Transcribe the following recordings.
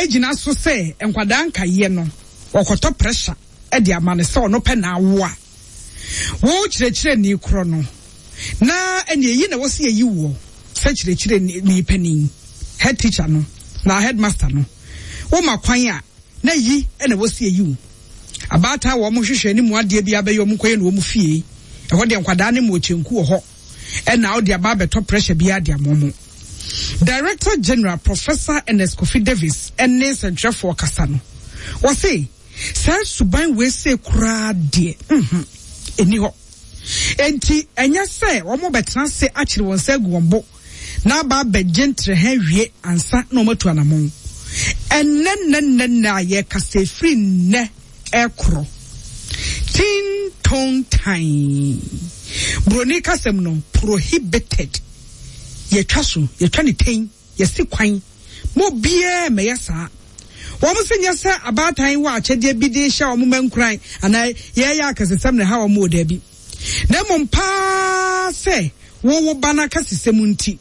Egyina so sɛ nkwadaa nkaeɛ no wɔkɔtɔ pressure de ama no sɛ ɔno pɛ na awo a, wo kyerɛkyerɛni korɔ no na ɛne eyi na wɔsi eyi woɔ sɛ kyerɛkyerɛni panin, head teacher no na headmaster no, woma kwan a na yi na wɔsi eyi wo. Abaatan a wɔn hwehwɛ ne mu adeɛ bi abɛyɛ wɔn kɔyɛ no wɔn fie. Ɛhɔ deɛ nkwadaa ne mu ɔkyɛnku wɔ hɔ. Ɛna wode aba abɛtɔ pressure biara de ama wɔn. Director General Professor Ernest Kofi Davis ne nsɛntwerɛfoɔ kasa no, wɔse saa suban wei sei koraa deɛ, mhm, ɛnni hɔ. Enti ɛnyɛ sɛ wɔbɛtena ase akyere wɔn nsa agu wɔn bo na aba abɛgye ntrɛha awie ansa na wɔatu anamɔn. Ɛnnɛ nnɛ nnɛ nnɛ a yɛrekasa ɛfiri nnɛ rekorɔ. Tin ton tan. Buroni kasam no, prohibited. Yɛtwa so, yɛtwa ne tɛn, yɛsi kwan. Ma obiara mmɛyɛ saa. Wɔn se nyɛ sɛ abaatan wɔ akyɛdeɛ bi de rehyɛ wɔn mma nkuran anaa yɛreyɛ akɛsesɛm na ɛha wɔn o, daabi. Na mmom paa sɛ wo wo ba no akɛsesɛm nti,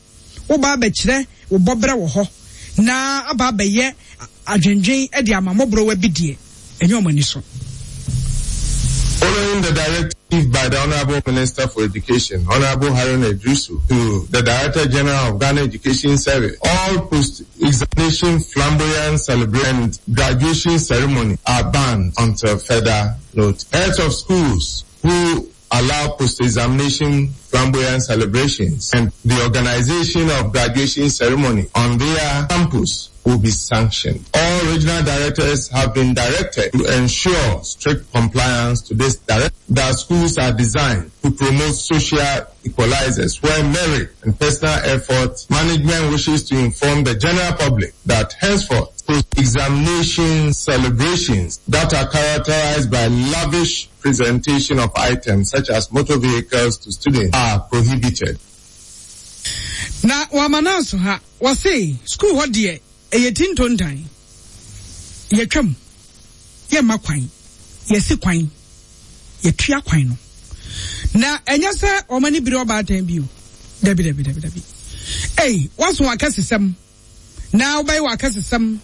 woba abɛkyerɛ wo bɔberɛ wɔ hɔ na aba abɛyɛ adwendwen de ama mmɔborɔwa bi deɛ, ɛnyɛ wɔn ani so. Following the directive by the Honorable Minister for Education, Honorable Haruna Iddrisu, to the Director General of Ghana Education Service, all post-examination flamboyant celebration and graduation ceremony are banned until further notice. Heads of schools who allow post-examination flamboyant celebrations and the organization of graduation ceremony on their campus will be sanctioned. All regional directors have been directed to ensure strict compliance to this directive. That schools are designed to promote social equalizers where merit and personal effort management wishes to inform the general public that henceforth post-examination celebrations that are characterized by lavish presentation of items such as motor vehicles to students are prohibited. Na wɔama no aso ha. Wɔse sukuu hɔ deɛ ɛyɛ ti ntontan. Yɛtwam, yɛmma kwan, yɛsi kwan, yɛtua kwan no. Na ɛnyɛ sɛ wɔn ani bere ɔbaatan bio. Dabi, dabi, dabi, dabi. Ei, woaso akɛsesɛm na wobɛyɛ w'akɛsesɛm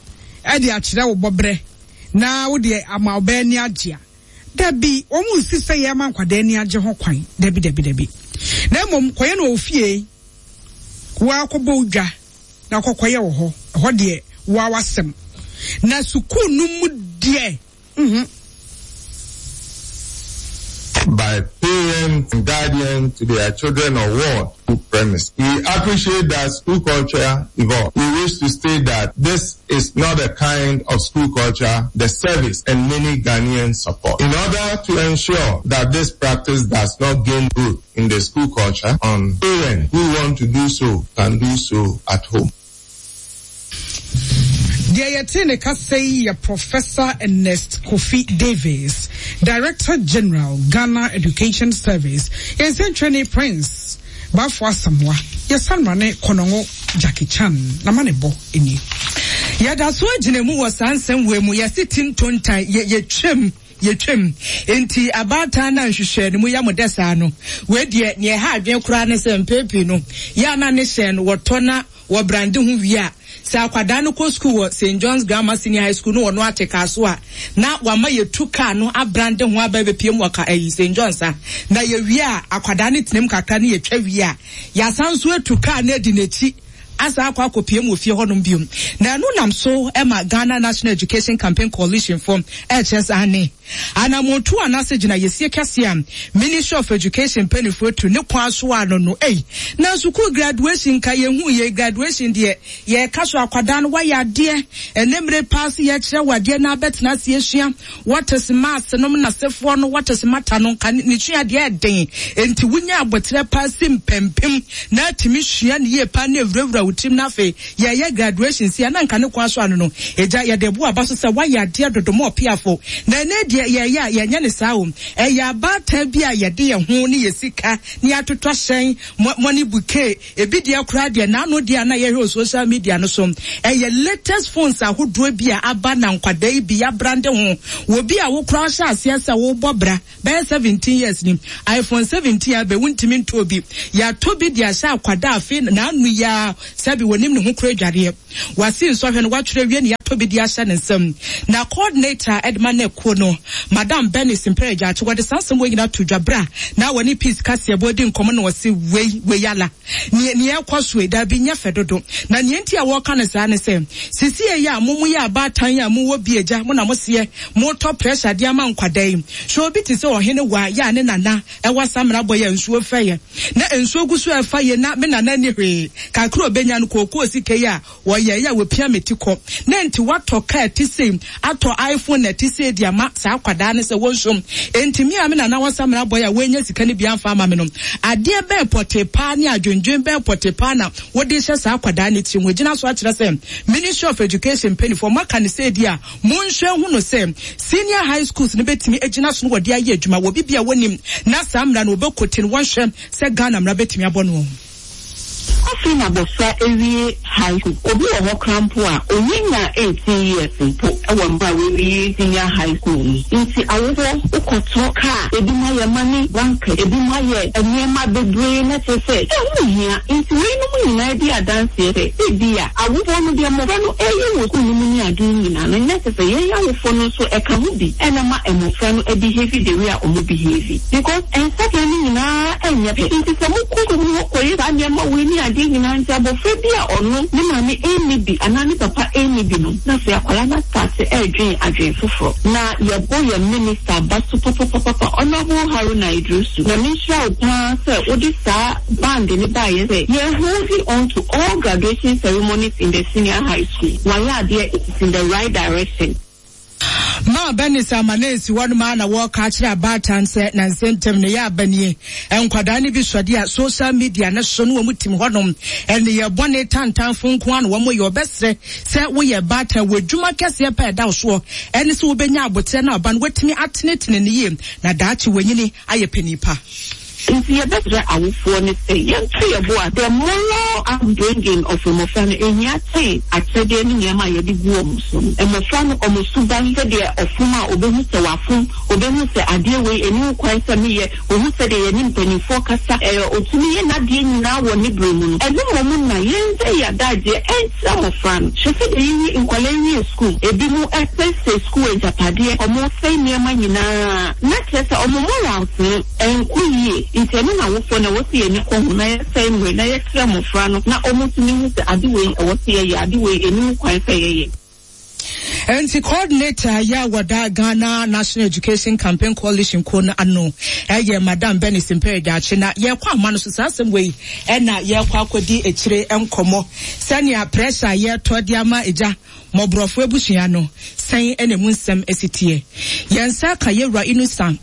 de akyerɛ wo bɔberɛ na wode ama ɔbaa ani agye a, dabi, wɔn nsi sɛ yɛma nkwadaa ani agye ho kwan. Dabi, dabi, dabi. Na mmom kɔyɛ no wɔ wo fie. Wo ara kɔbɔ wo dwa na kɔkɔyɛ wɔ hɔ. Ɛhɔ deɛ, wo ara w'asɛm. Na sukuu no mu deɛ, mhm. By parents and guardians to their children or ward school premise. We appreciate that school culture evolves. We wish to state that this is not a kind of school culture the service and many Ghanaians support. In order to ensure that this practice does not gain root in the school culture, on parents who want to do so can do so at home. Deɛ yɛtee ne kasa yi yɛ Professor Ernest Kofi Davis, Director General, Ghana Education Service. Yɛn nsɛntwerɛni Prince Bafo Asamoah, yɛsan ma ne Kɔnɔngo Jackie Chan n'amanebɔ nie. Yɛda so gyina mu wɔ saa nsɛm wei mu, yɛse ti ntontan, yɛ, yɛtwam, yɛtwam. Enti abaatan no a nhwehwɛɛ no mu yɛ mo dɛ saa no, wei deɛ, nea ɛha adwene koraa ne sɛ mpɛn pii no, yɛ a na ne hyɛn no wɔtɔ na wɔbrande ho wie a, sɛ akwadaa no kɔ sukuu wɔ St. John's Grammar Senior High School no wɔno ate kaa so a, na wama yɛtu kaa no abrande ho aba abɛpiem wɔ ka ayi St. John's a, na yɛwie a, akwadaa no tenam kakra ne yɛtwa wie a, yɛasan nso atu kaa no adi n'akyi asan akɔ akɔpiem wɔ fie hɔnom bio. Na ɛno nam so ma Ghana National Education Campaign Coalition fo ɛrekyerɛ sɛ aane, Anammɔntuo anaasɛ gyinaeɛsie kɛseɛ a Ministry of Education mpaninfoɔ atu ne kwan so ano no ei, na sukuu graduation nka yɛnhuu yei, graduation deɛ yɛreka so akwadaa no wayɛ adeɛ, ɛnɛ mmere paa sɛ yɛkyerɛ wo adeɛ na abɛtena ase asua what is maths nom nasefoɔ no what is matter no nka ne sua adeɛ ɛden, enti wonya aboterɛ paa si mpampim na atumi sua no yie paa na ɛwurawura wo tirim na afei Yɛreyɛ graduation sei a na nka ne kwan so ano no, agya yɛde bo aba so sɛ woayɛ adeɛ dodo ma ɔpeafo. Na ɛnnɛ deɛ. deɛ yɛyɛ a yɛnyɛ ne saa o. Ɛyɛ abaatan bi a yɛde yɛn ho ne yɛ sika ne atotɔ hyɛn, money bouquet, ebi deɛ koraa deɛ n'ano deɛ a na yɛhwɛ wɔ social media no so. Ɛyɛ latest phones ahodoɔ bi a aba na nkwadaa yi bi yɛabrande ho. Wɔ bi a wo koraa hyɛ aseɛ sɛ wobɔ bra bɛyɛ 17 years ni, iPhone 17 abɛ wontumi ntɔɔ bi. Yɛatɔ bi de ahyɛ akwadaa afei n'ano yi ara sɛbi wɔnim ne ho koraa adwareɛ. Wasi nsɔhwɛ no watwerɛ awie na yɛatɔ bi de ahyɛ ne nsam. Na coordinator de ma NEC kuo no, Madam Bernice Mpere Gyakye, wɔde saa nsɛm wei nyinaa too dwa berɛ a na wɔne Peace Kaseɛbɔ redi nkɔmmɔ na wɔse wei, wei ala. Neɛ, neɛ ɛrekɔ so yi, daabi, nyɛ fɛ dodo. Na neɛ nti a wɔreka no saa ne sɛ, sesie yi a mo, moyɛ abaatan yi a mowɔ bi agya, mo na moseɛ moretɔ pressure de ama nkwadaa yi. Hwɛ obi te sɛ Ɔhene Waa yɛ a ne nana ɛwɔ Samena bɔ yɛ a nsuo fɛ yɛ. Na nsuo gu so ɛfa yie na me nana nni hwee. Kakra a ɔbɛnya no, kookoo sika yi a wɔyɛeɛ a wɔpia me ti kɔ. Na enti watɔ kaa ɛte sei, atɔ iPhone ɛte sei de ama saa akwadaa no sɛ wɔnsom. Enti me a me nana wɔ Samena bɔ yɛ a wannya sika no bi amfa amma me no, adeɛ bɛn pɔtee paa ne adwendwen bɛn pɔtee paa na wode rehyɛ saa akwadaa no tirim? Wɔgyina so akyerɛ sɛ Ministry of Education mpaninfoɔ moaka no sɛ di a Monhwɛ nhu no sɛ senior high schools no bɛtumi agyina so na wɔde ayɛ adwuma wɔ biribi a wɔnim na saa mmara no wɔbɛkɔti no wɔnhwɛ sɛ Ghana mmara bɛtumi abɔ no. Afei na abɔfra awie high school. Obi wɔ hɔ koraa mpo a, ɔnnya 18 years mpo wɔ mmerɛ a wawie senior high school no. Nti awofoɔ, wokɔtɔ car, ebinom ayɛ money bank, ebinom ayɛ nneɛma bebree na kyerɛ sɛ ɛho nhia. Nti weinom nyinaa di adanseɛ sɛ ebia, Awofoɔ no, deɛ mmɔfra no reyɛ wɔ sukuu no mu ne adeɛ nyinaa no, nyɛ sɛ sɛ yɛn awofoɔ no nso ɛka ho bi na ɛma mmɔfra no behave the way a wɔn behave. Because nsakra no nyinaa nyɛ pɛ. Nti sɛ mokɔ sukuu mu hɔ kɔyɛ saa nneɛma wei ne adeɛ nyinaa nti abɔfra bi a ɔno ne maame nni bi anaa ne papa nni bi no, na afei akwadaa no astarte redwen adwen foforɔ. Na yɛbɔ yɛn minister aba so papapapapa, Honourable Haruna Iddrisu, Nyame nhyira wo paa sɛ wode saa band no baeɛ sɛ yɛn holding on to all graduation ceremonies in the senior high school. Wayɛ adeɛ, it is in the right direction. Maa Bernice Amanesi hɔnom ara na wɔreka akyerɛ abaatan sɛ nansa ntam no yɛ aba nie. Nkwadaa no bi sɔde a social media no so no wɔn tim hɔnom. Nneyɛɛ bɔne tantanfo nko ara na wɔn yɛ. Wɔbɛsrɛ sɛ woyɛ baatan wɔ adwuma kɛseɛ pa a ɛda wo soɔ ɛne sɛ wobɛnya aboterɛ na aba no woatumi atenetene no yie na daakye wanyini ayɛ panin pa. Nti yɛbɛsrɛ awofoɔ no sɛ yɛnto yɛn bo ase. The moral upbringing of mmɔfra no ɛhia kyɛn akyɛdeɛ ne nneɛma a yɛde gu wɔn so no. Mmɔfra no wɔn suban, sɛdeɛ ɔfom a ɔbɛhu sɛ wafom, ɔbɛhu sɛ adeɛ wei ɛnni ho kwan sɛ meyɛ, ɔhu sɛdeɛ yɛne mpanimfoɔ kasa, ɛɛ ɔtumi yɛ n'adeɛ nyinaa wɔ ne berɛ mu no, ɛno mmom na yɛnsɛe yɛn adagyeɛ nkyerɛ mmɔfra no. Hwɛ sɛdeɛ yɛwie, nkwadaa wie sukuu, ebinom sɛesɛe sukuu agyapadeɛ, wɔsɛe nneɛma nyinaa, na kyerɛ sɛ wɔn morals no, Ɛnkɔ yie, nti ɛno na awofoɔ no ɛwɔ sɛ yɛn ani kɔ ho na yɛsɛe mmerɛ na yɛkyerɛ mmɔfra no na wɔtumi hu sɛ ade wei ɛwɔ sɛ yɛyɛ, ade wei ɛnni ho kwan sɛ yɛyɛ. Enti coordinator yɛ a wɔda Ghana National Education Campaign Coalition kuo no ano yɛ Madam Bernice Mpere Daakye na yɛkɔ ahoma no so saa asɛm wei na yɛkɔ akɔdi akyire nkɔmmɔ sɛnea pressure a yɛtɔ de ama agya mmɔborɔfo abusua no sɛn na emu nsɛm si teɛ. Yɛn nsa ka Yɛwura Inusa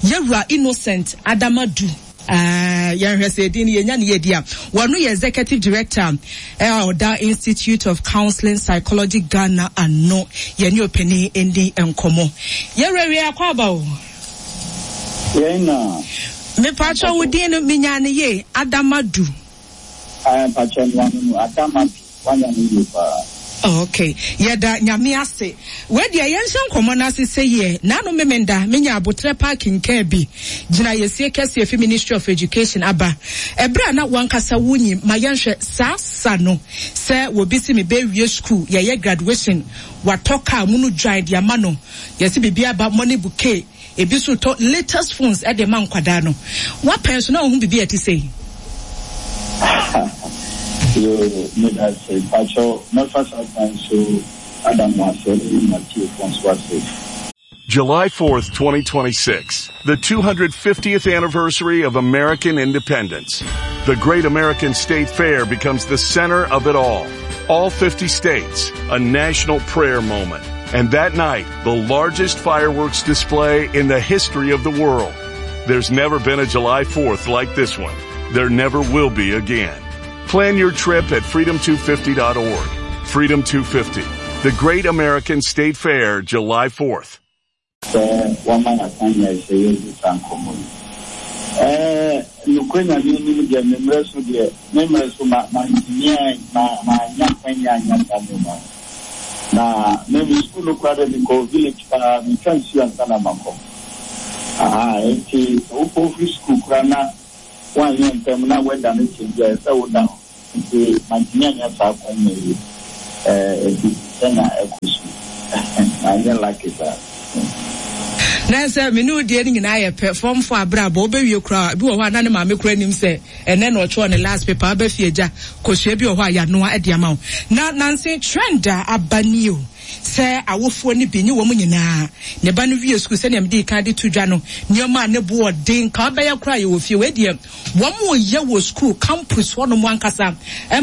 Yɛwura Innocent Adama Du. Ah, yɛnhwɛ sɛ edin no yɛnya ne yɛdi a. Wɔno yɛ Executive Director a ɔda Institute of Counseling Psychology Ghana ano. Yɛne ɔpanin ndi nkɔmmɔ. Yɛwura wie akɔ aba o. Yɛn na. Mepatwɔ wo din no menya ne yie, Adama Du. Ae mpakyɛ noa no no Adama Du. Wanya no yie paa. Ok yɛda Nyame ase. Wei deɛ yɛnhyɛ nkɔmmɔ no ase sɛ yie. Naano Memenda menya aboterɛ paa kenkaa bi gyina yɛsie kɛseɛ fi Ministry of Education aba. Ɛberɛ a na wankasa wonyim ma yɛnhwɛ saa sa no sɛ wɔbi se mebɛwie school yɛyɛ graduation watɔ car munu dwan de ama no yɛse biribi aba money bouquet Ebi nso retɔ latest phones de ma nkwadaa no. W'apɛn so na wohu biribi a ɛte sei? Yoo, meda ase. Mpakyɛw, mɛfa saa kwan so ada mo ase ne mo atiefoɔ nso ase. July 4th, 2026, the 250th anniversary of American independence. The Great American State Fair becomes the center of it all. All 50 states, a national prayer moment. And that night, the largest fireworks display in the history of the world. There's never been a July 4th like this one. There never will be again. Plan your trip at freedom250.org. Freedom 250, the Great American State Fair, July 4th. Sɛ wama yɛn akwanya yi sɛ yɛndi saa nkɔmmɔ yi. Ɛɛ, nokorɛ Nyame anim deɛ, me mmerɛ so deɛ, me mmerɛ so ma, mantumi an, ma, mannya akwanya annya saa nneɛma no. Na me, me sukuu no koraa deɛ, mekɔɔ village paa, metwa nsuo ansa na makɔ. Ahaa, enti sɛ wokɔ firi sukuu koraa na woanyɛ ntɛm na weather no change a, ɛsɛ sɛ woda hɔ. Nti mantumi annya saa akwanya yi eh, nti sɛnea ɛkɔ so yi, manyɛ lucky saa. Na sɛ me ne wo deɛ no nyinaa yɛ pɛ, fɔmfo abrabɔ, wobɛwie koraa, ebi wɔ hɔ a na ne maame koraa nim sɛ ɛnɛ na ɔtwerɛ ne last paper, aba fie agya, kosua bi wɔ hɔ a yɛanoa de ama wo. Na nanse trend a aba nie o, sɛ awofoɔ no bi nye wɔn nyinaa, ne ba no wie sukuu sɛdeɛ mede kan de to dwa no, nneɛma a ne bo ɔden, ka wobɛyɛ koraa yɛwɔ fie, wei deɛ Wɔyɛ wɔ sukuu campus hɔnom ankasa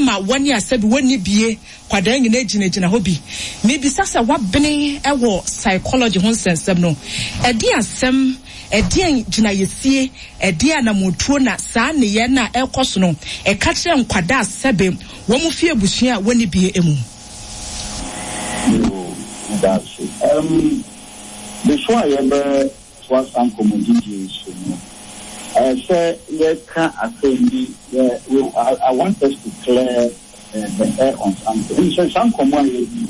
ma wɔne a sɛbi wɔnni bie kwadaa nyinaa gyinagyina hɔ bi. Mebisa sɛ wabene wɔ psychology ho nsɛnsɛm no, ɛdeɛn asɛm, ɛdeɛn gyinaeɛsie, ɛdeɛn anammɔntuo na saa nneyɛɛ no a ɛrekɔ so no ɛka kyerɛ nkwadaa a sɛbe wɔn fi abusua a wɔnni bie mu? Yoo, meda ase. Um, before a yɛbɛ toa saa nkɔmmɔdidie yi so no, ɛyɛ sɛ yɛka asɛm bi, yɛ, we, I, I want us to clear uh, the air on something. Wonim sɛ saa nkɔmmɔ a yɛdi yi,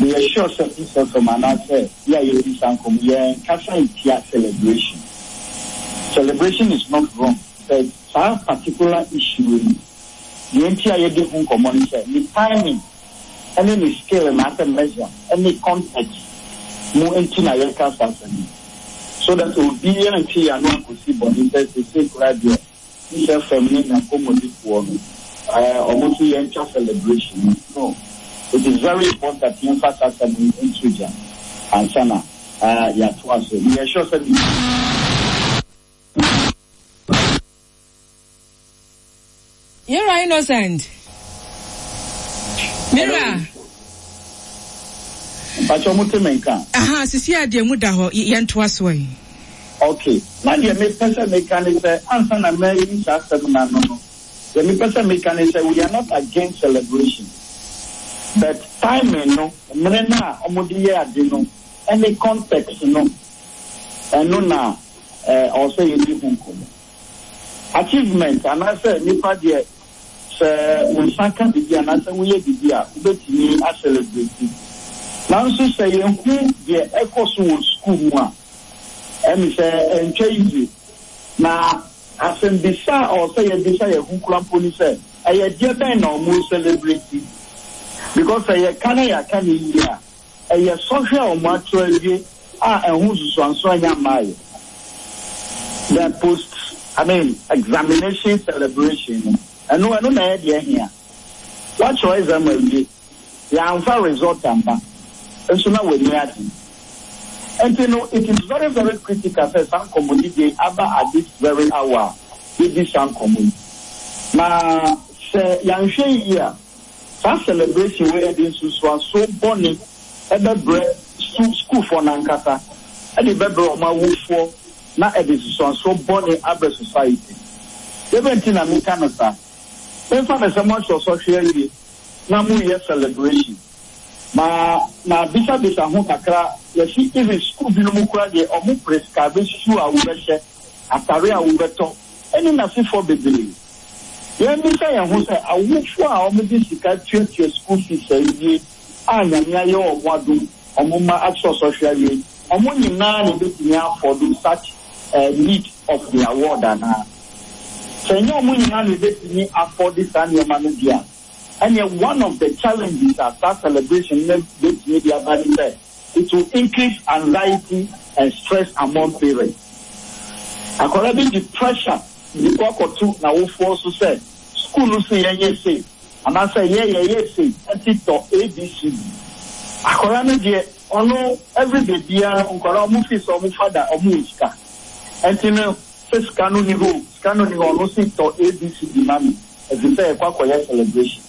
meyɛ sure sɛ Peace FM anaasɛ yɛ a yɛdi saa nkɔmmɔ yi, yɛnkasa ntia celebration. Celebration is not wrong, but saa particular issue yi, deɛ nti a yɛdi ho nkɔmmɔ ne sɛ, ne timing ne ne scale anaasɛ measure ne context mu nti na yɛka saa asɛm yi. So that obiara nte yɛn ano ankɔsi bɔne sɛ seesei koraa deɛ Peace FM ne n'akɔmmɔdifoɔ no eh, wɔn nso yɛntwa celebration no. No, it is very important yɛmfa saa asɛm yi nto gya ansa na eh, yɛatoa so. Meyɛ sure sɛ Mira Innocent. Mira. Mpakyɛ mo te me nka. Aha, sisi a deɛ mu da hɔ, yɛn to aso yi. Okay, na deɛ mepɛ sɛ meka ne sɛ ansa na mayi saa asɛm no ano no, deɛ mepɛ sɛ meka ne sɛ we are not against celebration, but timing no, mmere no a wɔde yɛ ade no ne context no, ɛno na ɛwɔ sɛ yɛdi ho nkɔmmɔ. Achievement anaasɛ nipa deɛ sɛ wo nsa ka biribi anaasɛ woyɛ biribi a wobɛtumi a celebrate. Nanso sɛ yɛhu deɛ ɛkɔ so wɔ sukuu mu a, ɛne sɛ ɛntwa yie. Na asɛmbisa a ɔwɔ sɛ yɛbisa yɛn ho kura mpo ne sɛ, ɛyɛ deɛ bɛn na wɔn celebrate? Because sɛ yɛka na yɛaka no yie a, Ɛyɛ sɔhwɛ a wɔato awie a ɛho nsusuanso anya mmaeɛ. The post, I mean, examination celebration no, ɛno, ɛno na ɛyɛ deɛ ɛhia. Woatwerɛ exam awie, yɛamfa result amma, nso na w'ani agye. Nti no, it is very very critical sɛ saa nkɔmmɔdidie yi aba at this very hour a yɛdi saa nkɔmmɔ yi. Na sɛ yɛanhwɛ yie a, Saa celebration wei ɛde nsunsuanso bɔne bɛbrɛ su sukuufoɔ no ankasa, ɛde bɛbrɛ wɔn awofoɔ na ɛde nsunsuansoɔ bɔne abrɛ society. Dɛbɛn nti na meka no saa? Memfa no sɛ moatwerɛ sɔhwɛ awie na moreyɛ celebration. Ma mabisabisa ho kakra, yɛse even sukuu binom koraa deɛ wɔn prescribe shoe a wobɛhyɛ, atare a wobɛtɔ ɛne n'asefoɔ bebree. Yɛmmisa yɛn ho sɛ, awofo a wɔde sika tuatua sukuu fees awie a Nyame ayɛ wɔn adom wɔn mma akyerɛ sɔhwɛ awie, wɔn nyinaa na ebetumi afford such a need of their ward anaa? Sɛ ɛnyɛ wɔn nyinaa na ebetumi afford saa nneɛma no deɛ a, ɛneɛ one of the challenges a saa celebration no betumi de aba ne sɛ, It will increase anxiety and stress among parents. Akwadaa bi de pressure de kɔ akɔto n'awofoɔ so sɛ sukuu no se yɛnyɛ sei anaasɛ yɛ yɛyɛ sei nti tɔ ABCD. Akwadaa no deɛ ɔno everyday biara no nkwadaa wɔn feel sɛ wɔn father wɔn wɔ sika nti no sɛ sika no ni hɔ o sika no ni hɔ ɔno se tɔ ABCD ma me. Ɛfiri sɛ yɛkɔ akɔyɛ celebration.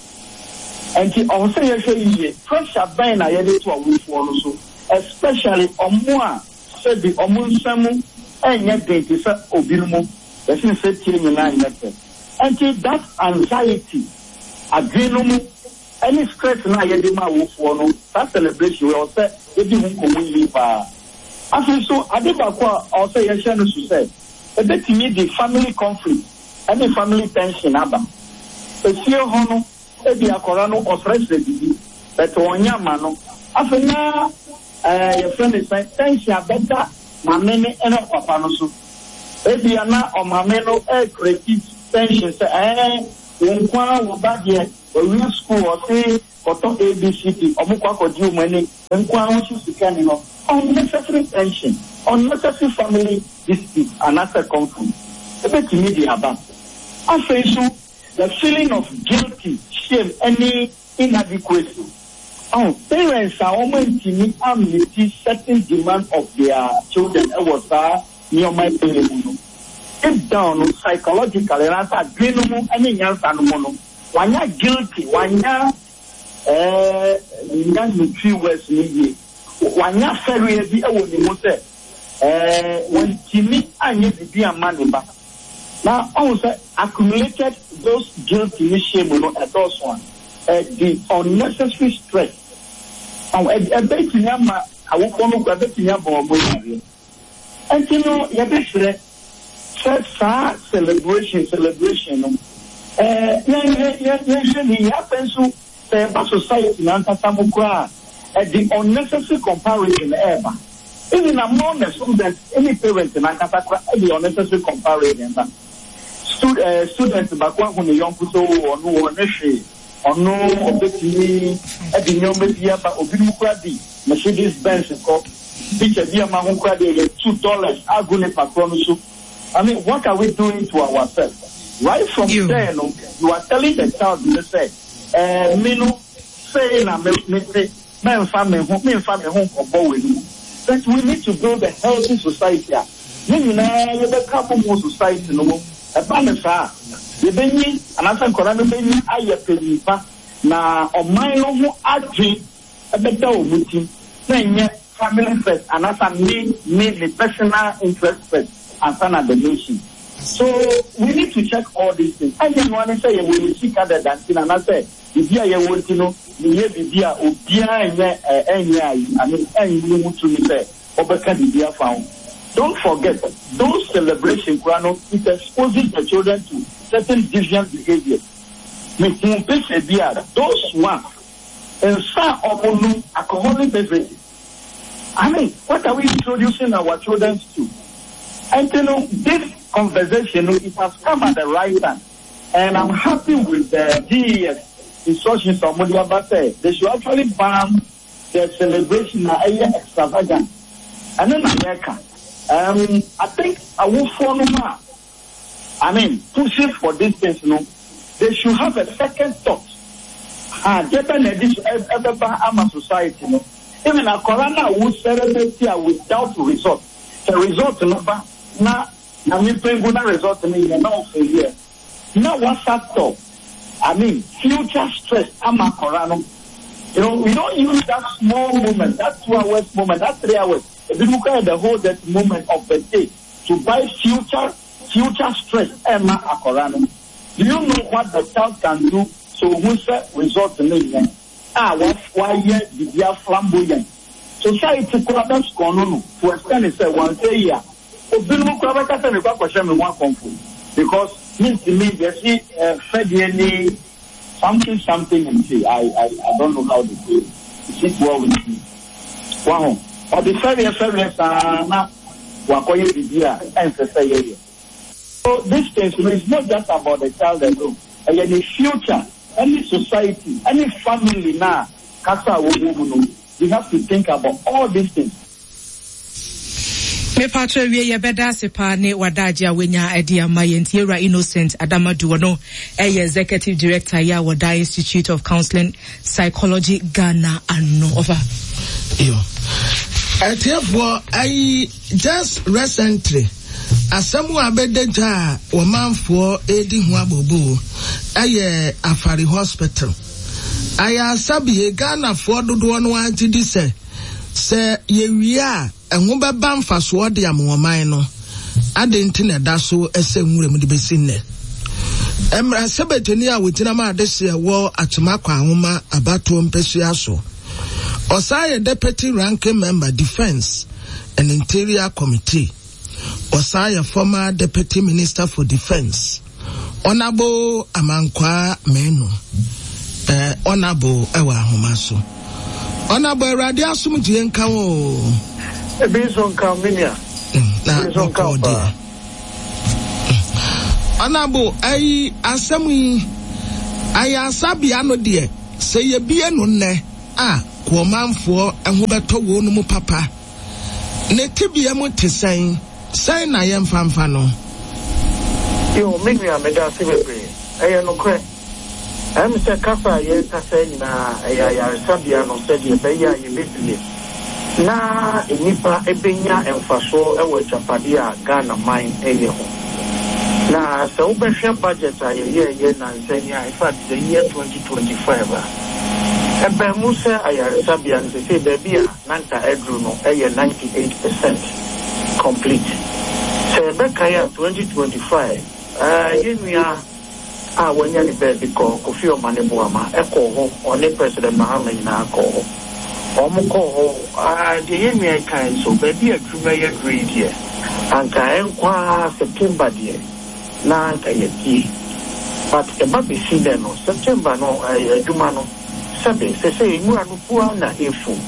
Ɛnti ɔwɔ sɛ yɛhwɛ yiye, pressure bɛn na yɛde to awofoɔ no so, especially ɔmo a sɛbi ɔmo nsa mu ɛnyɛ den te sɛ obinom, yɛse nsetie nyinaa nyɛ pɛ. Ɛnti that anxiety, adwene no mu ɛne stress no a yɛde ma awofoɔ no, saa celebration wei ɔwɔ sɛ yɛdi ho nkɔmmɔ yie paa. Afei nso, ade baako a ɔwɔ sɛ yɛhyɛ no so sɛ, ebetumi de family conflict ne family tension aba. Efie hɔ no, ebia akwadaa no ɔsrɛsrɛ biribi, but wɔnyɛ ama no. Afei na ɛɛ yɛfrɛ no sɛn, tension abɛda maame no ne ɔpapa no so. Ebia na ɔmaame no ɛrecreate tension sɛ ɛɛ wo nko ara wo ba deɛ, wawie school, ɔse kɔtɔ ABCD, wɔkɔ akɔgye wɔn ani. Nkoa ho so sika nni hɔ. Unnecessary tension, unnecessary family dispute anaasɛ conflict betumi de aba. Afei nso, the feeling of guilty, shame ne inadequacy. Ahu, parents a wɔantumi ammeeti certain demand of their children wɔ saa nneɛma yi mu no, deep down no, psychologically anaasɛ adwene no mu ne nyansa no mu no, wɔanya guilty, wɔanya Ɛɛ, minnya ne Twi words no yie. Wanya fɛreɛ bi wɔ ne mu sɛ, ɛɛ, wantumi anyɛ biribi amma ne ba. Na ɔhu sɛ accumulated those guilty ne shame no ɛdɔɔso a, ɛde unnecessary stress. Ɔho, ɛbɛtumi ama awofoɔ no koraa, ɛbɛtumi abɔ wɔn yareɛ. Ɛnti no yɛbɛsrɛ sɛ saa celebration celebration no eh, yɛnhwɛ yɛnhwɛ ne yie. Afei nso sɛ yɛba society no ankasa mu koraa a, ɛde unnecessary comparison ɛɛba. Even among the students ne parents no ankasa koraa ɛde unnecessary comparison ba. Stu eh, student baako ahu ne yɔnko sɛ oh, ɔno ɔnyɛ hwee. Ɔno ɔbɛtumi de nneɛma bi aba, obinom koraa de Mercedes Benz kɔ, picture bi a mahu koraa deɛ yɛtu dollars agu nipa korɔ no so. I mean what are we doing to ourselves? Right from there no, you are telling the child no sɛ, ɛɛ me no sei na me mete, mɛnfa me ho, menfa me ho nkɔbɔ wei no mu. But we need to build a healthy society a yɛn nyinaa yɛbɛka abom wɔ society no mu. Ɛba no saa a, yɛbɛnyin anaasɛ nkwadaa no bɛnyin ayɛ panyin pa, na ɔman no ho adwen bɛda wɔn ti, na ɛnyɛ family first anaasɛ me, me, me personal interest first ansa na the nation. So we need to check all these things. Ɛnyɛ noa ne sɛ yɛwɔ yɛn sika dada nti no anaasɛ biribi a yɛwɔ nti no meyɛ biribi a obiara nyɛ ɛnyɛ ayi, I mean ɛnyi ho tumi sɛ wɔbɛka biribi afa ho. Don't forget those celebration koraa no it exposes the children to certain deviant behaviours. Me hu picture bi a those ones nsa a wɔn nom alcoholic beverages. I mean what are we introducing our children to? Ɛnti no this conversation no it has come at the right time and I'm happy with the GES instructions a wɔde aba sɛ they should actually ban The celebration na ɛyɛ extravagant ɛno na yɛka um I think awofoɔ nom a I mean pushing for this things no they should have a second thought ha deɛ bɛ na ɛde ɛbɛba ama society no even akɔra no a wo celebrate a without result sɛ result no ba na nyame mpengu na result no yɛ na ɔfɛ yɛ Na wasa tɔ I mean future stress ama akɔra no you know we don't use that small moment that 2 hours moment that 3 hours ebinom koraa yɛ the whole that moment of the day to buy future future stress ɛma akɔra no do you know what the child can do so ohun sɛ result no nyɛ a wayɛ biribi flamboyant society koraa bɛ scorn no to extend sɛ wɔn sɛ yi a. Obinom koraa bɛka sɛ mekɔ akɔhyɛ me ho akɔmfo because mentumi yɛse fɛdeɛ ne something something nti I I I don't know how they say it it sit well with me waho ɔde fɛreɛ fɛreɛ saa na wakɔyɛ biribi a ɛnsɛ sɛ yɛyɛ so this things no is not just about the child alone ɛyɛ ne future ɛne society ɛne family na kasa a wɔwɔ mu no we have to think about all these things. Mepatro awie yɛbɛda ase paa ne w'adagye a wanya de ama yɛn nti yɛwura Innocent Adamadu ɔno ɛyɛ executive director yɛ a wɔda Institute of Counseling Psychology Ghana ano ɔfa. Yo. Atiefoɔ ayi just recently asɛm a bɛda dwa a wɔmanfoɔ redi ho abooboo ɛyɛ Afari Hospital. Ayaresabea Ghanafoɔ dodoɔ no ara gye di sɛ Sɛ yɛwie a, ɛho bɛba mfasoɔ de ama ɔman no. Adɛn nti na ɛda so sɛ nwuram de bɛsi nnɛ? Mmarahyɛbadwani a ɔgyina ma adehyeɛ wɔ Akyem Akwanwoma abatoɔ mpasua so. Ɔsan yɛ Deputy Ranking Member, Defence. and Interior Committee. Ɔsan yɛ former Deputy Minister for Defence. Honourable Amankwaa Manu. Eh, Honourable ɛwɔ ahoma so. Honourable Awurade asomdwie nka wo o. Ebi nso nka wo me nua. Mm, na bɔkɔɔ deɛ. Honourable ayi asɛm yi ayaresabea no deɛ sɛ yɛbie no nnɛ a koɔmanfoɔ ho bɛtɔ wɔn mu papa. Ne tebea mu te sɛn? Sɛn na yɛmfa mfa no? Yoo me nua medase bebree. Ɛyɛ nokorɛ. Ɛyɛ me sɛ kasa a yɛrekasa yi nyinaa ɛyɛ ayaresabea no sɛdeɛ ɛbɛyɛ a yɛbɛbue na nnipa bɛnya mfasoɔ wɔ agyapadeɛ a Ghana man yɛ ho. Na sɛ wobɛhwɛ budget a yɛyɛɛyɛ nansa yi a, in fact the year 2025 a, ɛbaa mu sɛ ayaresabea no sesei baabi a na anka aduru no yɛ 98 percent complete. Sɛ yɛbɛkae a 2025 yɛn nua a wanya ne baabi kɔ, Kofi Omane Boamah, kɔɔ hɔ, ɔne President Mahama nyinaa kɔɔ hɔ. Wɔn kɔɔ hɔ, deɛ yɛn nua yi kae nso, baabi a adwuma yi aduru yi deɛ, anka ɛnkɔ ara September deɛ na anka yɛapue. But ɛba bɛsi nnɛ no, September no adwuma no, sɛbe, sɛsɛi nwura no fu ara na ɛrefu.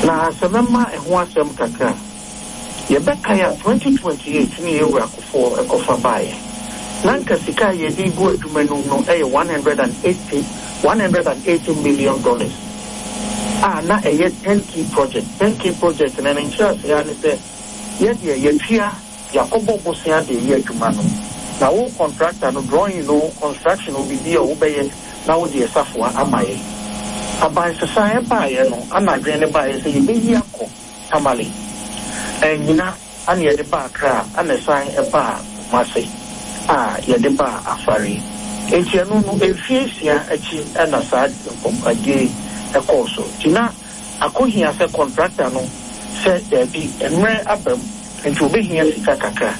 Na sɛ mɛma ɛho asɛm kakra a, Yɛbɛkae a, 2028 ne yɛn Wura Kufuor kɔfa baeɛ. Na anka sika a yɛde regu adwuma no mu no yɛ 180, $180 million dollars a na ɛyɛ turnkey project. Turnkey project no, ne nkyerɛaseɛ ara ne sɛ, yɛ deɛ yɛatua, yɛakɔbɔ bosea de reyɛ adwuma no, na wo contractor no, drawing o, construction o, biribiara o, wobɛyɛ na wode safoa ama yɛn. Abansesaeɛ baeɛ no, ana adwene no baeɛ sɛ yɛbɛyi akɔ Tamale, annyina ana yɛde baa Accra ana ɛsan baa Kumasi a yɛde baa Afari. Nti ɛno no mfie nsia akyi na saa nkɔmmɔdie yi kɔɔ so. Nti na akɔhia sɛ contractor no sɛ daabi mmerɛ aba mu nti ɔbɛhia sika kakra.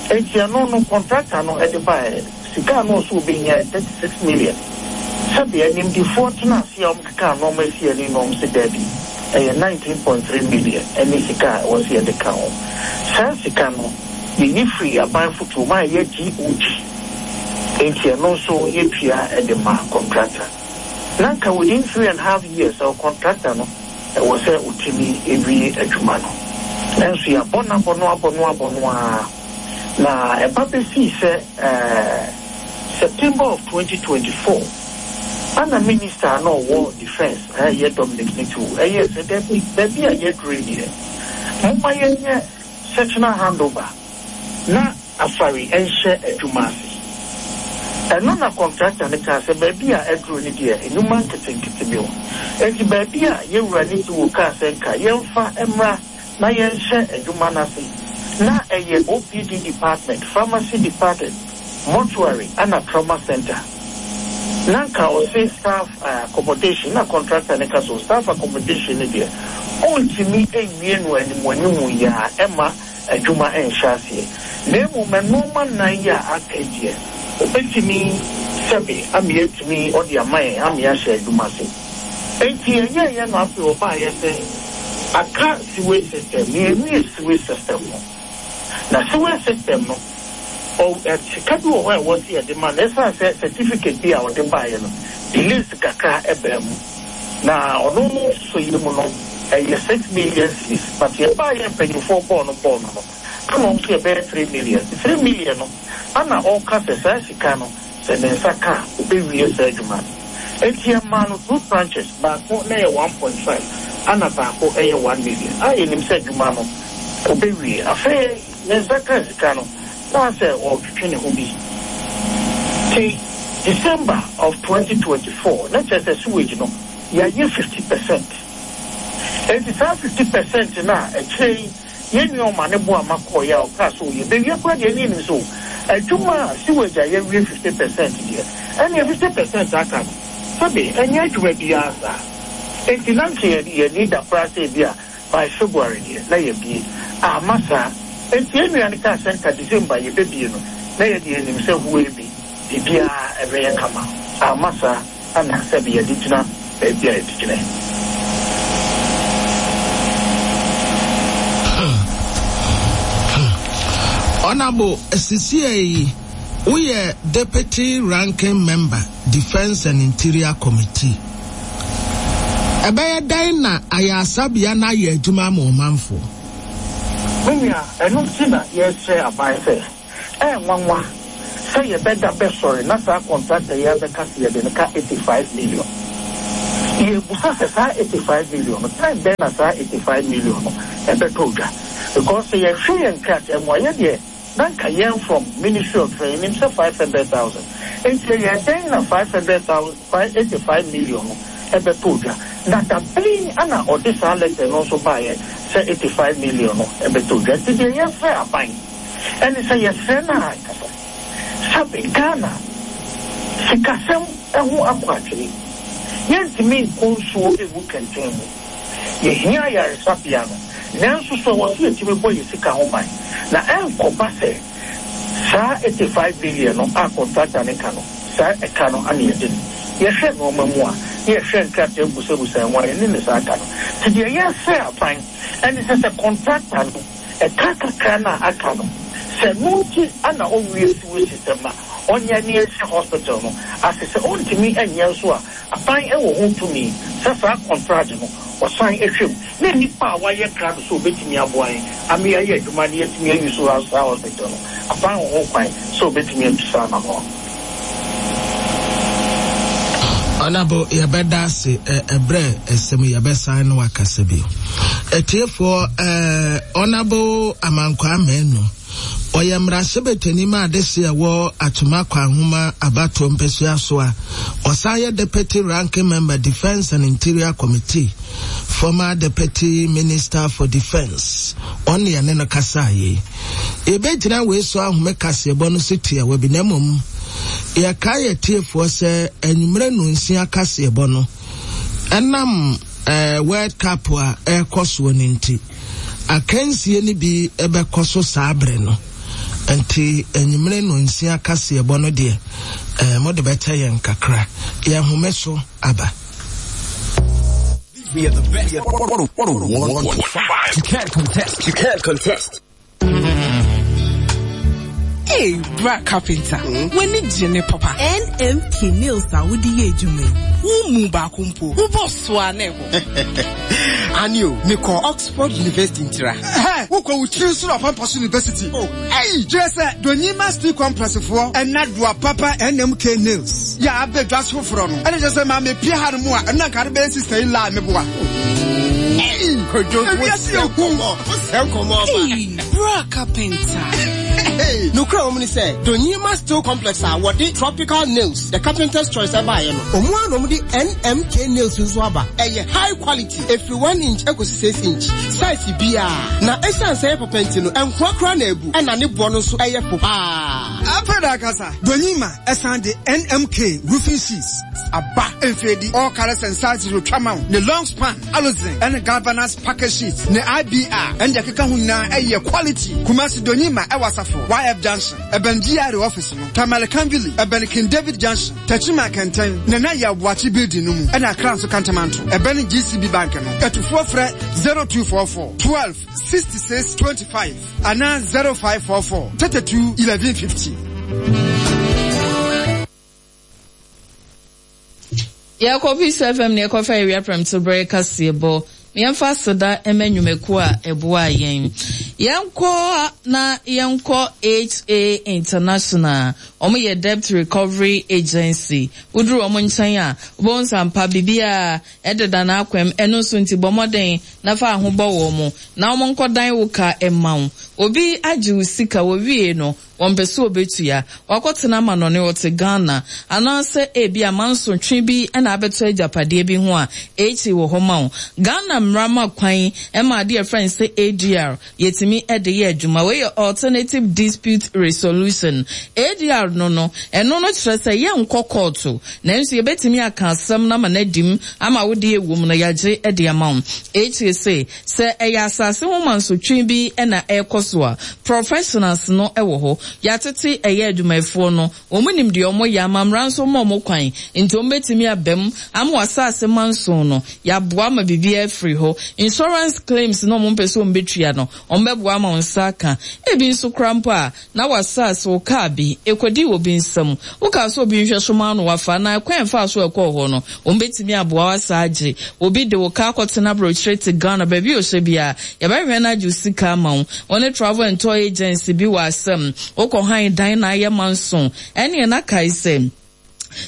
Nti ɛno no contractor no de baeɛ. Sika a na ɔsɛ ɔbɛhia yɛ 36 million. Sɛdeɛ animdefoɔ tena ase a wɔkekaa nnoɔma si ani no wɔn se daabi, ɛyɛ 19.3 million ne sika a ɛwɔ sɛ yɛde ka ho. Saa sika no yɛyi firi aban fotoɔ mu a ɛyɛ GOG, enti ɛno nso yɛtua de ma contractor. Na anka within three and half years contractor no ɛwɔ sɛ ɔtumi wie adwuma no. Nanso yɛabɔ no abɔ no abɔ no abɔ no ara. Na ɛba bɛsii sɛ September of 2024, ana minister a na ɔwɔ defence a ɛyɛ Dominic Nitiwul ɛyɛɛ sɛ dabi, baabi a yɛaduru yi deɛ, momma yɛnyɛ sectional handover na Afari nhyɛ adwuma ase. Ɛno na contractor no kaa sɛ baabi a aduru no deɛ, nnwuma nketenkete bi wɔ. Enti baabi a yɛwura Nitiwul kaa sɛ nka yɛmfa mmra na yɛnhyɛ adwuma no ase. Na ɛyɛ OPD department, pharmacy departed, mortuary ɛna trauma centre. Na nka ɔse staff accommodation na contractor no ka sɛ staff accommodation no deɛ ɔntumi nwie no animuanimu yi ara ɛmma adwuma nhyɛ aseɛ na mmom nnoɔma nnan yi a aka yi deɛ ɔbɛtumi sɛbe ama yɛatumi ɔde ama yɛn ama yɛahyɛ adwuma ase. Enti yɛyɛeɛ na afei ɔbaeɛ sɛ aka sewage system na yɛnwie sewage system no. Na sewage system no, ɔ, ɛ, sika bi wɔ hɔ a ɛwɔ sɛ yɛde ma no, ɛsiane sɛ certificate bi a ɔde baeɛ no, delays kakra baa mu. Na ɔno no nsosɔeɛ mu no, ɛyɛ 6 million cedis, but yɛbaeɛ mpanyinfoɔ bɔɔ no bɔɔ no no, ɛna ɔmo nso yɛbɛyɛ 3 million. 3 million no, ɛna ɔka sɛ saa sika no, Sɛ ne nsa ka a, obewie saa adwuma no. Enti yɛmaa no two tranches, baako na ɛyɛ 1.5 ɛna baako yɛ 1 million a yɛnim sɛ adwuma no obewie. Afei ne nsa kaa sika no, na asɛ ɔretwetwe ne ho bi. Nti December of 2024, na kyerɛ sɛ sewage no, yɛayɛ 50%. Enti saa 50% no a akyire yi, Yɛn nua Omane Boamah kɔeɛ a ɔkaa sɛ o yɛbɛwie koraa deɛ ɛne yɛnim sɛ o adwuma a sewage a yɛawie 50% deɛ ɛneɛ 50% aka no sɛbe ɛnyɛ adwuma biara saa enti na nka yɛn ani da koraa sɛ ebia by February deɛ na yɛabie amma saa enti yɛn nua no kaa sɛ nka December yɛbɛbie no na yɛdeɛ yɛnim sɛ huee bi biribiara ɛbɛyɛ kama amma saa. Ana sɛbe yɛde gyina baabi a yɛde gyina yi? Honourable, sisiɛ yi woyɛ Deputy Ranking Member, Defence and Interior Committee. Ɛbɛyɛ dɛn na ayaresabea no ayɛ adwuma ama ɔmanfoɔ? Me nua, ɛno nti na yɛresrɛ aban sɛ, ɛyɛ nwanwa sɛ yɛbɛda bɛsɔre na saa kɔntrakta yi abɛka sɛ yɛde no ka 85 million. Yɛrebisa sɛ saa 85 million no, time bɛn na saa 85 million no ɛbɛtɔ dwa? Because sɛ yɛhwɛ yɛn nkrataa mu a, yɛdeɛ na nka yɛn from Ministry of Defence yɛnim sɛ 500,000. Nti ɛyɛɛ dɛn na 500,000, 85 million no ɛbɛtɔ dwa? Na da bɛn na ɔde saa letter no nso baeɛ sɛ 85 million no ɛbɛtɔ dwa? Nti deɛ yɛsrɛ aban ɛne sɛ yɛsrɛ no ara ankasa sɛbe Ghana sikasɛm ho akɔ atwene, yɛntumi nkɔ nsuo ngu kɛntɛn mu. Yɛhia ayaresabea no, nanso so ɛwɔ sɛ yɛtumi bɔ yɛn sika ho ban na ɛnkɔba sɛ saa 85 million no a kɔntrata no ka no, saa ɛka no ana yɛde no? Yɛhwɛ nnoɔma mu a, na yɛhwɛ nkrataa busabusa ho a, yɛne no saa ka no. Nti deɛ yɛsrɛ aban ɛne sɛ, sɛ kɔntrata no ɛka kakra no a aka no, sɛ ɛno nti na ɔnwie sewage system no a, ɔnyɛ na yɛnhyɛ hospital no ase. Sɛ ɔntumi nyɛ nso a, Aban wɔ ho tumi sɛ saa kɔntragye no ɔsan hwɛ mu na nnipa a wɔayɛ krado sɛ wɔbɛtumi aboa yɛn ama yɛayɛ adwuma na yɛatumi ayi so saa hospital no, aban wɔ ho kwan sɛ ɔbɛtumi atu saa anammɔn no. Honourable yɛbɛda ase ɛbrɛ ɛsɛm yɛbɛsan ne wakasa bio. Atiefoɔ ɛɛ Honourable Amankwaa Manu. Ɔyɛ mmarahyɛbadwani ma adehye a ɛwɔ Atwima Kwanhoma abatoɔ mpasua so a ɔsan yɛ Deputy Ranking Member Defence and Interior Committee, former Deputy Minister for Defence. Ɔne yɛne no kasaa yei. Yɛbɛgyina wei so ahome kaseɛbɔ no so tiawa bi na mmom yɛkae atiefoɔ sɛ anwummerɛ nnɔnsia kaseɛbɔ no ɛnam eh, World Cup a ɛrekɔ soɔ no nti Akansie no bi bɛkɔ so saa bere no, nti anwummere nnɔnsia kaseɛbɔ no deɛ, eh, mode bɛkyɛ yɛn kakra. Yɛn home so aba. We are the best. 101.5. You can't contest. You can't contest. Hey, bra carpenter. Mm? W'ani gye ne papa. NMK nails a wode yɛ adwuma yi. Wo mu baako mpo. Wobɔ so a na ɛbɔ. Ani o, mekɔ Oxford University ntira. Hɛ, wokɔ wo tiri so na ɔpampa so University. Oh, ɛyi, kyerɛ sɛ Donyima Steel Complex foɔ ɛna doa papa NMK nails. Yɛ abɛ dwa so foforɔ no. Ɛna kyerɛ sɛ maame pie ha no mu a, ɛno na nka de bɛyɛ sister in law meboa. Ɛyi, Kojo, ewiase yɛ hu. Wosɛ nkɔmɔ ɔba. Hey, bra carpenter. Nokura wɔm ne sɛ, Donyima Steel Complex a wɔde tropical nails, the carpenter's choice ɛbaeɛ no, wɔn ara na wɔde NMK nails nso aba. Ɛyɛ high quality, ɛfiri one inch ɛkɔsi six inch, size biara. Na ɛsiane sɛ ɛyɛ papa nti no, ɛnkoa koraa na abu, ɛna ne boɔ no nso ɛyɛ fo paa. Afei da ankasa, Donyima ɛsan de NMK roofing sheets aba. Mfeedi, all colours and sizes otwa ma wo, ne long span, Aluzen ɛne galvanized package sheets ne IBR ɛne deɛ ɛkeka ho nyinaa ɛyɛ quality. Kumasi Donyima ɛwɔ Asafo YF Junction ɛbɛn GRA office no, Tamale Kanvili ɛbɛn King David Junction, Techiman Kɛntɛn, Nana Yaw Boakye building no mu ɛna Accra nso Kantamanto ɛbɛn GCB Bank no. Atufoɔ frɛ 0244 12 66 25 anaa 0544 32 11 50. Yɛkɔ Peace FM na yɛkɔfa awia prɛmto berɛ kaseɛbɔ. Yɛmfa aseda mma nnwumakuo a ɛboaa yɛn. Yɛnkɔ na yɛnkɔ HA International. Wɔn yɛ Debt Recovery Agency. Woduru wɔn nkyɛn a, wobɛhu sɛ ampa biribiara ɛdeda n'akwam. Ɛno nso nti bɔ mmɔden na fa ho bɔ wɔn na wɔn nkɔdan wo ka mma wo. Obi agye wo sika, wɔwie no, Wɔmpɛ sɛ obetua. Wakɔtena amanɔne, ɔte Ghana, anaasɛ ebia mansotwe bi na abɛtɔ agyapadeɛ bi ho a, HE wɔ hɔ ma wo. Ghana mmara ma kwan ma adeɛ a yɛfrɛ no sɛ ADR, yɛtumi de yɛ adwuma. Wei yɛ Alternative Dispute Resolution. ADR no no, ɛno no kyerɛ sɛ yɛnkɔ kɔɔto, nanso yɛbɛtumi aka asɛm no ama no adi mu ama wo deɛ ɛwɔ mu no yɛagye de ama wo. HE se, Sɛ ɛyɛ asase ho mansotwe bi na ɛrekɔ so a, professionals no wɔ hɔ. Yɛatete ɛyɛ adwumayɛfoɔ no, wɔn nim deɛ wɔyɛ, amammra nso ma wɔn kwan, nti wɔn bɛtumi aba mu ama w'asase manso no, yɛaboa ma biribiara afiri hɔ. hɔ. Insurance claims no a wɔmpɛ sɛ wɔbɛtua no, wɔbɛboa ama wo nsa aka. Ebi nso koraa mpo a, na w'asaase, wo kaa bi, ɛkɔdii obi nsam. Wokaa sɛ obi nhwɛ so ma wo na wafa anaa ɛkwan a ɛfaa so ɛkɔɔ hɔ no, wɔbɛtumi aboa wo asan agye. Obi de wo kaa akɔtena aburokyire te Ghana, baabi a ɔhyɛ biara, yɛbɛhwehwɛ na agye wo sika ama wo. Wo ne travel and tour agency bi wɔ asɛm, wokɔ han dan na ayɛ manso, ɛneɛ na kae sɛ,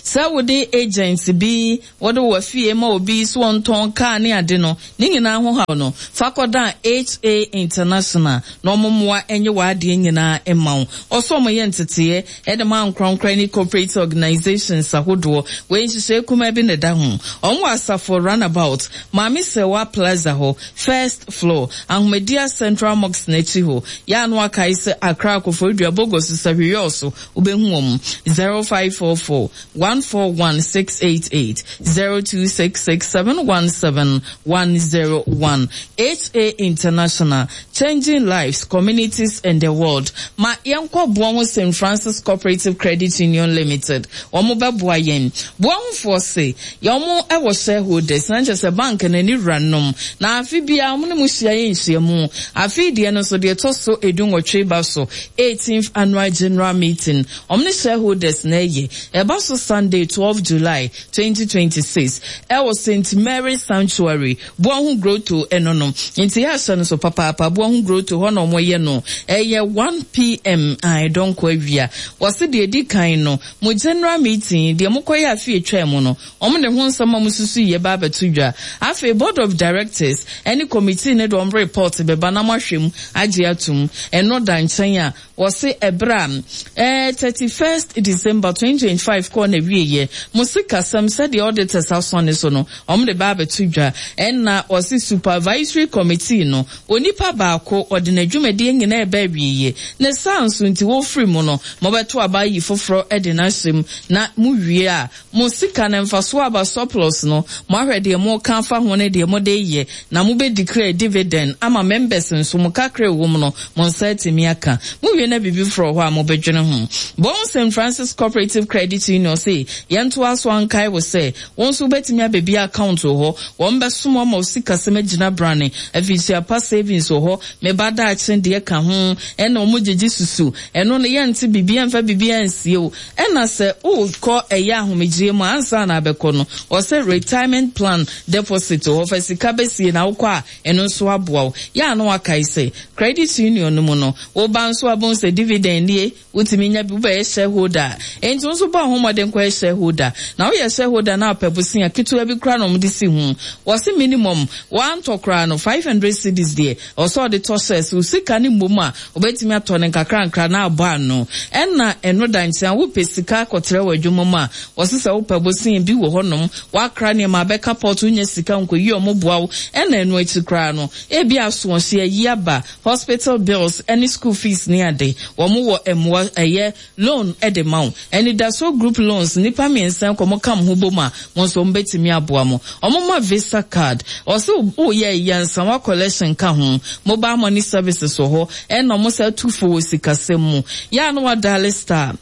Sɛ wode agent bi, wode wo afie ma obi sɛ ɔntɔn kaa ne ade no, ne nyinaa ho haw no, fa kɔdan HA International na wɔn mmoa nye w'adeɛ nyinaa mma wo. Ɔsɛ wɔyɛ nteteeɛ de ma ankorankorɛ ne corporate organisations ahodoɔ. Wei nhyehyɛe kumaa bi na ɛda ho. Wɔn wɔ Asafo Runabout, Maame Serwaa Plaza hɔ, first floor, Ahomadia Central Mosque no akyi hɔ. Yɛ a na wakae sɛ Accra, Koforidua, Bogoso, Sahwi-Yɔɔso, Wobɛhu wɔn, 0544 141 688, 0266 717 101. HA International, Changing Lives, Communities and the World. Ma yɛnkɔ Boaho St. Francis Cooperative Credit Union Limited. Wɔn bɛboa yɛn. Boahofoɔ se, yɛn wɔn wɔ shareholders, na nkyerɛ sɛ bank no ani wuranom. Na afe biara wɔn ne mo hyia yɛ nhyiamu. Afe yi deɛ no nso deɛ ɛtɔ so edunwɔtwe ba so. Eighteenth Annual General Meeting, wɔn ne shareholders na ɛyɛ. Ɛba so Sunday, 12 July, 2026, ɛwɔ Saint Mary's Sanctuary, Boahu Grotto ɛno no. Nti yɛahyɛ no so papaapa, Boahu Grotto hɔ na wɔyɛ no. Ɛyɛ 1 PM, ae, dɔnkɔ awia. Wɔse deɛ ɛdi kan no, mo General Meeting, deɛ mokɔyɛ afe a ɛtwaa mu no, Wɔde ho nsɛm a wɔsusuiɛ ba abɛto dwa. Afei Board of Directors ne Committee no de wɔn report bɛba na moahwɛ mu agye atom. Ɛno da nkyɛn a, wɔse ɛberɛ a eh, 31st December 2025 kɔɔ n'awieɛ, mo sikasɛm sɛdeɛ auditors asɔne so no, wɔde ba abɛto dwa. Ɛna wɔse Supervisory Committee no, onipa baako, ɔde n'adwumadie nyinaa reba awieɛ. Ne saa nso nti, wɔfiri mu no, mobɛto aba ayi foforɔ de no ahyɛ mu, na mowie a, Mo sika no mfasoɔ aba surplus no, moahwɛ deɛ moreka afa ho ne deɛ mode reyɛ, na mobɛ declare dividend ama members nso, mo kakra a ɛwɔ mu no, mo nsa atumi aka. Mowie na biribi foforɔ wɔ hɔ a mobɛdwene ho. Bɔn St. Francis Cooperative Credit Union se yɛntoa so ankae wo sɛ, wo nso wobɛtumi abɛbue account wɔ hɔ, wɔn bɛsom wo ama wo sikasɛm agyina brane, afihyia pa savings wɔ hɔ, me ba daakye deɛ ka ho, ɛna wɔn gyegye susu, ɛno no yɛnte biribiara mfa biribiara nsie wo. Ɛna sɛ worekɔ ɛyɛ ahomegyeɛ mu a, ansa na abɛkɔ no, ɔsɛ retirement plan deposit wɔ hɔ, fa sika bɛsie na wokɔ a, ɛno nso aboa wo. Yɛ a na woakae sɛ, credit union no mu no, woba nso a wobɛhu sɛ dividend nie, wotumi nya bi, wobɛyɛ shareholder a, enti wo nso bɔ wo ho mmɔden kɔyɛ shareholder. Na woyɛ shareholder na wopɛ bosea ketewa bi koraa na wɔde si ho. Wɔse minimum, woantɔ koraa no, 500 cedis deɛ, Ɛwɔ sɛ ɔde tɔ shares, wo sika no mmom a, wobɛtumi atɔ no nkakrankra na abɔ ano. Ɛna ɛno da nkyɛn a, wopɛ sika akɔtrɛ w'adwuma mu a, wɔse sɛ wopɛ bosea bi wɔ hɔnom, woakra nneɛma abɛka port, wonnya sika nkɔyi wɔn boa wo. Ɛna ɛno akyi koraa no, ebia asoɔhye ayi aba, hospital bills ne school fees ne ade, wɔn wɔ mmoa, ɛyɛ Loan de ma wo. Anidasoɔ group loans nnipa miensa kɔ mo ka mo ho bom a mo nso wɔn bɛtumi aboa mo. Wɔn ma visa card. Ɔse wo yɛ ayi ansa wa collection ka ho. Mobile money services wɔ hɔ ɛna wɔn saa tu fo wɔ sikasɛm mu. Yɛ a na wa dial star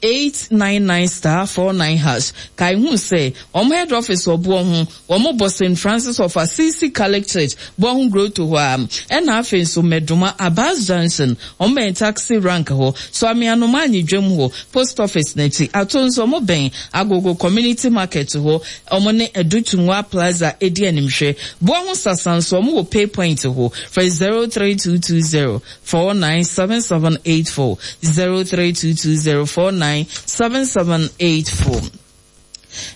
899 star 49 hash. Kae hu sɛ wɔn head office wɔ boɔ ho. Wɔn bɔ Saint Francis of Assisi Catholic Church Boaho Grotto hɔ ara. Ɛna afei nso Medoma, Abbas Junction, wɔn bɛn taxi rank hɔ, Suame Anoma Anyidwam hɔ, Post Office no akyi. Ato nso wɔn bɛn Agogo Community Market hɔ, wɔn ne Adu Tungua Plaza di animhwɛ. Boaho Sasa nso wɔn wɔ Pay Point hɔ. Frɛ 03220 497784, 03220 497784.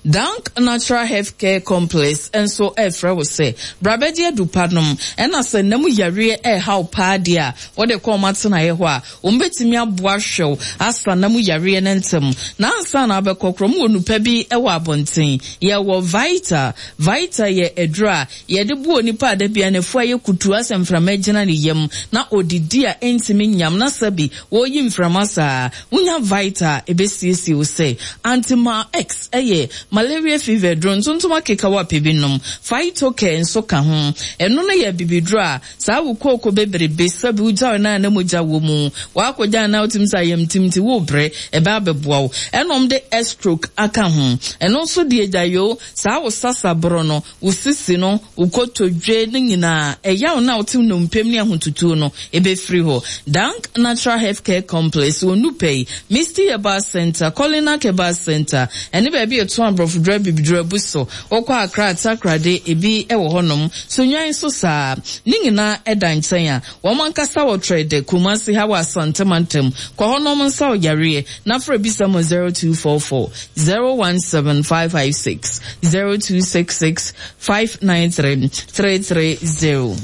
Dank Natural Health Care Complex nso refrɛ wo sɛ bra bɛgye adu pa nom. Ɛna sɛ nna mu yareɛ reha wo paa deɛ a, wode kɔ wɔn atenaeɛ hɔ a, wɔbɛtumi aboa ahwɛ wo asa nna mu yareɛ no ntɛm. Na ansa na wobɛkɔ koraa, wɔwɔ nnupa bi wɔ abɔnten. Yɛwɔ Vita. Vita yɛ aduro a yɛde boa onipa a da biara n'afu ayɛ kutuu asɛ mframa agyina ne yam na ɔdidi a ɛntumi nyam na sɛbi wɔreyi mframa saa. Wonya Vita a, ɛbɛsiesie wo sɛ. Antimal X yɛ. Malaria fever aduro, ntontom akekaw a pɛ bi nom. Phytocare nso ka ho. Ɛno no yɛ abibiduro a saa wo kooko bebrebe sɛbe wogyaw no a na mogya wɔ mu. W'akɔgya anaa wotumi sɛ ayamtim nti worebrɛ, ɛbɛ abɛboa wo. Ɛna wɔde Estroke aka ho. Ɛno nso deɛ gya yoo, saa wo sasaboro no, wo sisi no, wo kotodwe no nyinaa, ɛyaw no a wote nnompe mu ne ahotutuo no, ɛbɛfiri hɔ. Dank Natural Health Care Complex wɔ Nupɛi, Misty Herbal Centre, Kolinak Herbal Centre, ɛne baabi a yɛtɔn aborɔfoduro abibiduro abu so. Wokɔ Accra a, Takoradi, ebi wɔ hɔnom. Sunnwan nso saa ara. Ne nyinaa da nkyɛn a, wɔn ankasa wɔ Trɛdɛ, Kumasi ha wɔ Asante mantam. Kɔ hɔ na wɔnsa wo yareɛ na frɛ bisa mu 0244 017 556, 0266 593 330.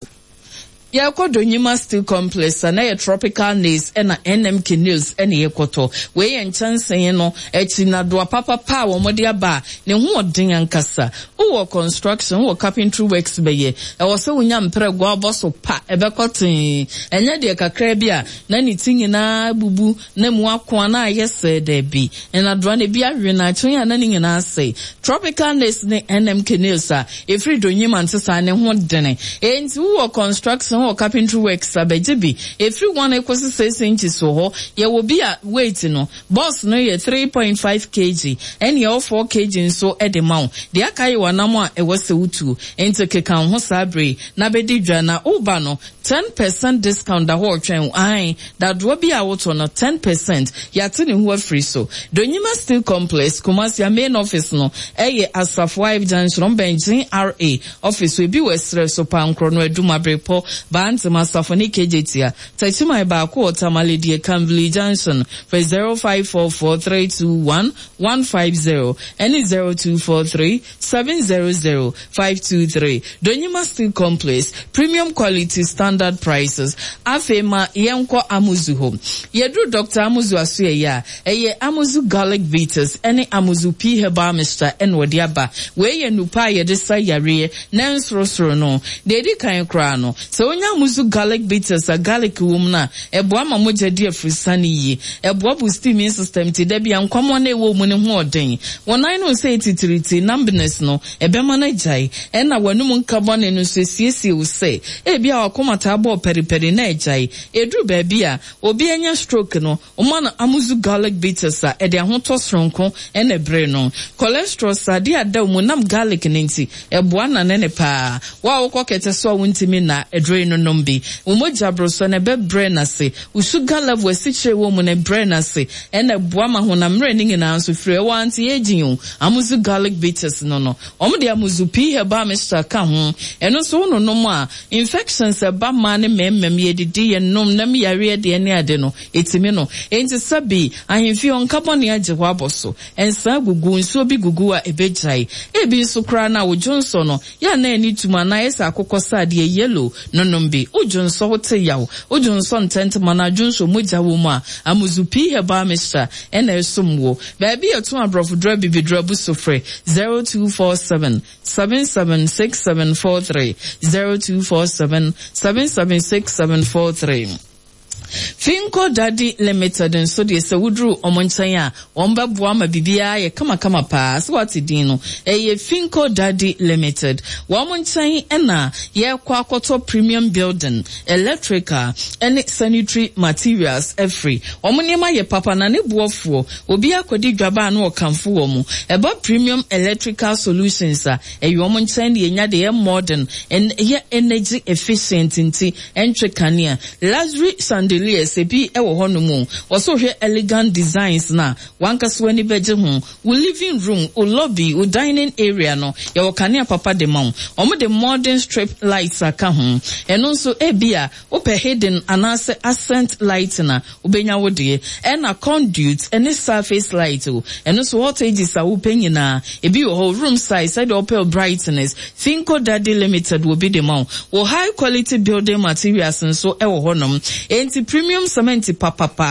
Yɛrekɔ Donyima Steel Complex a na ɛyɛ Tropical Nails ɛna NMK Nails ɛna yɛkɔtɔ. Wei yɛ nkyɛnsee no akyi nnadoa papapa a wɔde aba a ne ho ɔden ankasa. Wowɔ construction, wowɔ carpentry works bɛyɛ, ɛwɔ sɛ wonya mprɛgoa a wobɔ so pa, ɛbɛkɔ tee. Ɛnyɛ deɛ kakraa bi a na ne ti nyinaa abubu na emu ako a na ayɛ sɛɛ, dabi. Nnadoa no ebi awe na akyire yi a na ne nyinaa asɛe. Tropical Nails ne NMK Nails a ɛfiri Donyima nte saa, ne ho dene. Enti wowɔ construction, wowɔ carpentry works a, bɛgye bi. Ɛfiri 1 kɔsi 6 inches wɔ hɔ. Yɛwɔ bi a weight no, Box no yɛ 3.5 kg ɛne ɛwɔ 4 kg nso de ma wo. Deɛ aka yɛ w'anam a ɛwɔ sɛ wotuo. Enti keka wo ho saa berɛ yi na bɛdi dwa na woba no 10 percent discount da hɔ retwɛn wo. Aane, dadoɔ bi a wotɔ no 10 percent yɛate ne ho afiri so. Donyima Steel Complex, Kumasi, a main office no yɛ Asafo Ive Junction, wɔn bɛn GRA office hɔ. Ebi wɔ Ɛserɛ so, Pankorɔ no, Adum, Abrepɔ, Baantem, Asafo ne Kejetia. Takyiman baako wɔ Tamale deɛ Kamvli Junction frɛ 0544 321 150 ɛne 0243 700 523 Donyima Steel Complex, Premium Quality Standard Prices Afei ma yɛnkɔ Amuzu hɔ. Yɛduru Dɔkta Amuzu asoɛeɛ a, ɛyɛ Amuzu Garlic Bitters ɛne Amuzu Pea Herbal Mixture ɛna ɔde aba. Wei yɛ nnupa a yɛde sa yareɛ na ɛnsorosoro no. Deɛ ɛdi kan koraa no, sɛ wonya Amuzu Garlic Bitters a garlic wɔ mu no a, ɛboa ma mogya di afurusane yie. Ɛboa boost immune system nti da biara nkwammoa no a ɛwɔ wo mu no ho ɔden. Wo nan no nsɛe titiritii, numbness no, ɛbɛma no agyae. Ɛna w'anom nka bɔne no nso, ɛsiesie wo sɛ ebia w'akoma taa bɔ paripari na agyae. Ɛduru baabi a, obi anya stroke no, Woma no Amuzu garlic bitters a, ɛde ahotɔ soronko na ɛbrɛ no. Cholesterol, sradeɛ a ɛda wo mu nam garlic no nti, ɛboa nane no paa. Wo a wokɔ kɛtɛ so a wontumi nna, aduro yi no nom bi. Wo mogya borosɔ no, ɛbɛbrɛ no ase. Wo sugar level, asikyire a ɛwɔ mu no, ɛbrɛ no ase. Ɛna ɛboa ma honam mmerɛ no nyinaa nso firi. Ɛwɔ anti-aging o, Amuzu garlic bitters no no. Wɔde Amuzu pea herbal mixture ka ho. Ɛno nso wononom a, infections a ɛba mmaa ne mmarima mu, yɛdidi, yɛnom, nam yareɛ deɛ ne ade no, Etumi no. Enti sɛbe ahemfie hɔ nka bɔne agye hɔ abɔ so. Nsa gugu, nsuo bi gugu a ɛbɛgyae. Ebi nso koraa no a wo dwonsɔ no, yɛ a na ani tum anaa ayɛ sɛ akokɔsradeɛ, yellow, no nom bi. Wo dwonsɔ wo te yaw, wo dwonsɔ ntɛntɛm anaa dwonsɔ mogya wɔ mu a, Amuzu Pea Herbal Mixture na ɛsom wo. Baabi a yɛtɔn aborɔfoduro abibiduro abu so frɛ 0247 776743, 0247 776743. Finco Daddy Limited nso deɛ sɛ woduru wɔn nkyɛn a, wɔbɛboa ma biribiara ayɛ kamakama paa. Sɛ woate din no, ɛyɛ Finco Daddy Limited. Wɔn nkyɛn na yɛrekɔ akɔtɔ premium building, electrical ne sanitary materials afiri. Wɔn nneɛma yɛ papa na ne boɔ foɔ. Obiara kɔdi dwa ba a na ɔkamfo wɔn. Ɛba premium electrical solutions a, ɛyɛ wɔn nkyɛn na yɛnya deɛ ɛyɛ modern, ɛyɛ energy efficient nti ɛntwe kanea. Luxury chandeliers ebi wɔ hɔnom o. Wɔsɛ wohwɛ elegant designs no a, w'ankasa w'ani bɛgye ho. Wo living room, wo lobby, wo dining area no, yɛwɔ kanea papa de ma wo. Wɔde modern strip lights aka ho. Ɛno nso, ebia wopɛ hidden anaasɛ accent lighting a, Wobɛnya wo deɛ. Ɛna conduit ne surface light o, ɛno nso voltages a wopɛ nyinaa, ebi wɔ hɔ, room size, sɛdeɛ wopɛ wo brightness, Finco Daddy Limited wɔ bi de ma wo. Wo high quality building materials nso wɔ hɔnom. Enti premium cement papapa.